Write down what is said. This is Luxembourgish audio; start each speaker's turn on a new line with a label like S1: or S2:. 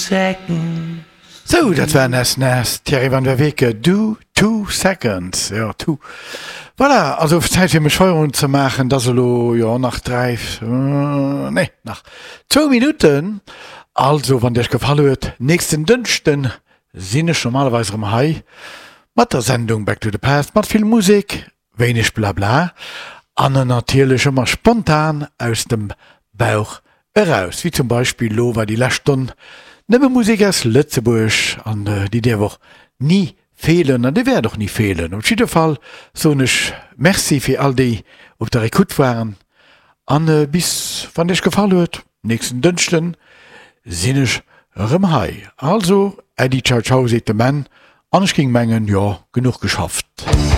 S1: seconds.
S2: Sou, dat war Ness Ness, Thierry van der Weke, Do Two Seconds, jo, two. Voilà, also Zäit fir mech Feierowend ze maachen, et ass elo, jo, nach 3, nee, nach zwou Minutten. Also, wann et iech gefall huet, nächsten Dënschden sinn ech normalerweis erëm hei mat der Sendung Back to the Past, mat vill Musek, wéineg Blabla an natierlech ëmmer spontan aus dem Bauch eraus, wéi zum Beispill lo war déi lescht Stonn nëmme Musek aus Lëtzebuerg an déi däerf och ni feelen an déi wäert och ni feelen. Op jidde Fall soen ech Merci fir all déi op der Ecoute waren an bis, wann et iech gefall huet, nächsten Dënschden sinn ech erëm hei. Also Äddi, ciao ciao seet de Menn an ech géing mengen, jo, genuch geschafft.